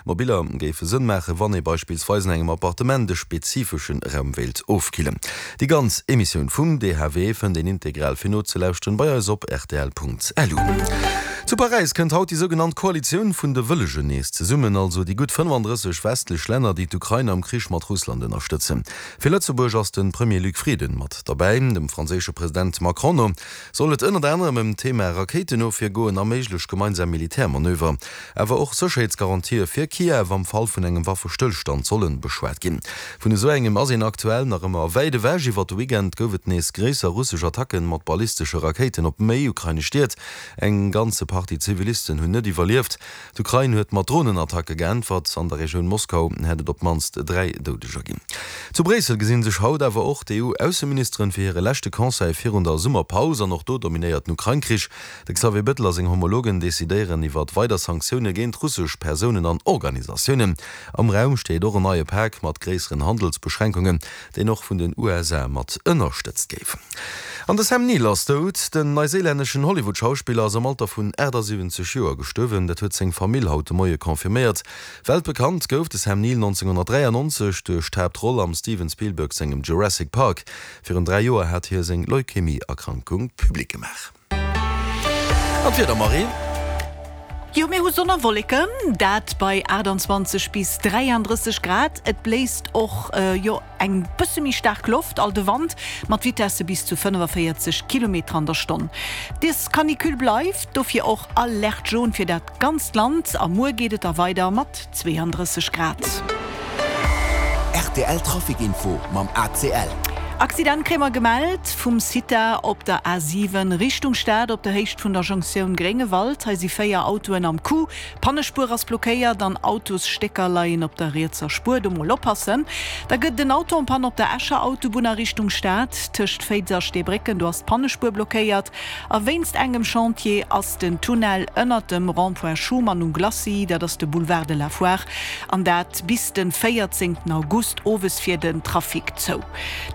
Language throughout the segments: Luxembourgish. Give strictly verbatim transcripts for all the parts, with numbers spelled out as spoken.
Mobiller géife Sënn maachen, wann ee beispillsweis an engem Appartement e spezifesche Raum wéilt ofkillen. Déi ganz Emissioun vum D H W fënnt een integral fir nozelauschteren bei eis op rtl.lu. Zu Paräis kënnt haut déi sougenannt Koalitioun vun de Wëllegen nees zesummen, also déi gutt fënnefandrësseg westlech Länner, déi d'Ukrain am Krich mat Russland ënnerstëtzen. Fir Lëtzebuerg ass de Premier Luc Frieden mat derbäi. Dem franséische President Macron no soll et ënnert anerem ëm d'Thema Rakéitenofwier goen a méiglech gemeinsam Militärmanöver. Awer och Sécherheetsgarantië fir Kiew am Fall vun engem Waffestëllstand solle beschwat ginn. Vun esou engem ass een aktuell nach ëmmer wäit ewech. Iwwer de Weekend gouf et nees gréisser russesch Attacken mat ballistesche Rakéiten op méi ukrainesch Stied. Eng ganze Partie Zivilisten hunn net iwwerlieft. D'Ukrain huet mat Dronenattacke geäntwert. An der Regioun Moskau hätt et op d'mannst dräi Doudeger ginn. Zu Bréissel gesi sech haut awer och d'E U-Ausseministeren fir hire leschte Conseil virun der Summerpaus. An och do dominéiert den Ukrain-Krich. De Xavier Bettel a seng Homologen decidéieren iwwer weider Sanktioune géint russesch Persounen an Organisatiounen. Am Raum steet och en neie Pak mat gréisseren Handelsbeschränkungen, deen och vun den U S A mat ënnerstëtzt géif. An de Sam Neill ass dout. Den neiséilänneschen Hollywood-Schauspiller ass am Alter vun achtasiwwenzeg Joer gestuerwen. Dat huet seng Famill haut de Moie confirméiert. Weltbekannt gouf de Sam Neill nonzénghonnertdräiannonzeg duerch d'Haaptroll am Steven Spielberg sengem Jurassic Park. Virun dräi Joer hat hie seng Leukämie-Erkrankung public gemaach. An d'Wieder, Marie? Jo, mir hu Sonn a Wolleken, dat bei aachtanzwanzeg bis dräiandrësseg Grad. Et bléist och, jo, eng bësse méi staark Loft, all de Wand mat Vitesse bis zu fënnefavéierzeg Kilometer an der Stonn. Des Canicule bleift, dofir och Alerte jaune fir dat ganzt Land. A muer geet et da weider mat zweeandrësseg Grad. R T L Trafic Info mam A C L. Accident kréie mer gemellt vum Cita op der A siwen Richtung Stad op der Héicht vun der Jonktioun Gréngewald. Hei si véier Autoen am Coup. D'Pannespuer ass blockéiert an Autosstécker leien op der rietser Spuer. Do mol oppassen. Da gëtt et en Auto en panne op der Escher Autobunn a Richtung Stad tëscht Féiz a Steebrécken. Do ass d'Pannespuer blockéiert a wéinst engem Chantier ass den Tunnel ënnert dem Rond-point Schuman um Glacis, dat ass de Boulevard de la Foire, an dat bis de véierzéngten August owes fir den Trafic zou.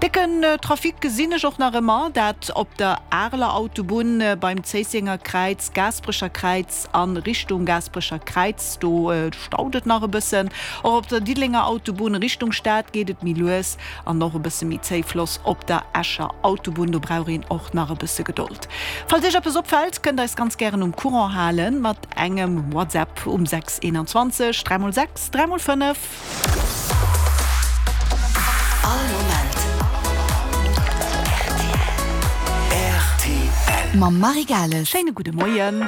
Décken Trafic gesinn ech och nach ëmmer, dat op der Areler Autobunn beim Zéissenger Kräiz, Gaasperecher Kräiz a Richtung Gaasperecher Kräiz, do staut et nach e bëssen. Och op der Diddelenger Autobunn Richtung Stad geet et méi lues an och e bësse méi zéifloss op der Escher Autobunn, do brauch een och nach e bësse Gedold. Falls Iech eppes opfält, kënnt eis ganz gären um Courant halen mat engem WhatsApp um sechs eenanzwanzeg dräi mol sechs dräi mol fënnef. All Moment R T L. Mam Marie Gales. Schéine gudde Moien.